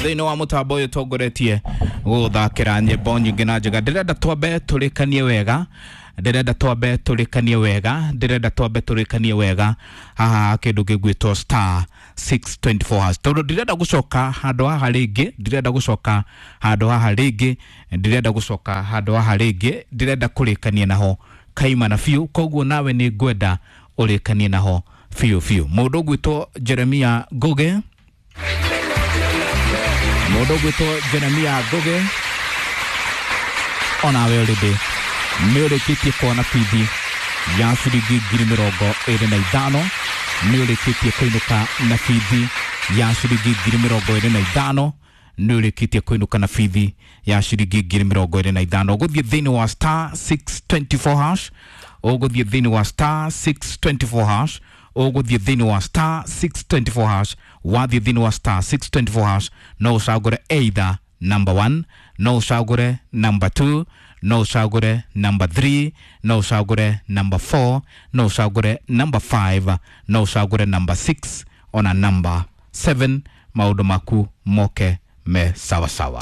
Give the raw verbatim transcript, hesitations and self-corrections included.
Thĩinĩ wa mũtambo ũyũ tongoretie gũgũthakĩra nyĩmbo nyingĩ na njega. Ndĩrenda twambe tũrĩkanie wega, ndĩrenda twambe tũrĩkanie wega, ndĩrenda twambe tũrĩkanie wega haha kĩndũ gĩgwĩtwo star six twenty four hash, tondũ ndirenda gũcoka handũ haha rĩngĩ, ndirenda gũcoka handũ haha rĩngĩ, ndirenda gũcoka handũ haha rĩngĩ, ndĩrenda kũrĩkania naho kaimana biũ. Koguo nawe nĩ ngwenda ũrĩkanie naho biũ biũ. Mũndũ ũgwĩtwo Jeremia Ngugi, mũndũ ũgwĩtwo Jeremia Ngugi, onawe already nĩ ũrĩkĩtie kuona bithi ya ciringi ngiri mĩrongo ĩrĩ na ithano, nĩ ũrĩkĩtie kũinũka na bithi ya ciringi ngiri mĩrongo ĩrĩ na ithano, nĩ ũrĩkĩtie kũinũka na bithi ya ciringi ngiri mĩrongo ĩrĩ na ithano. Ũgũthiĩ thĩinĩ wa star six twenty four hash, ũgũthiĩ thĩinĩ wa star six twenty four hash, ũgũthiĩ thĩinĩ wa star six twenty four hash. Wathiĩ thĩinĩ wa star six twenty four hash, no ũcagũre either number one, no ũcagũre number two, no ũcagũre number three, no ũcagũre number four, no ũcagũre number five, no ũcagũre number six ona number seven. Maũndũ maku moke me sawa sawa.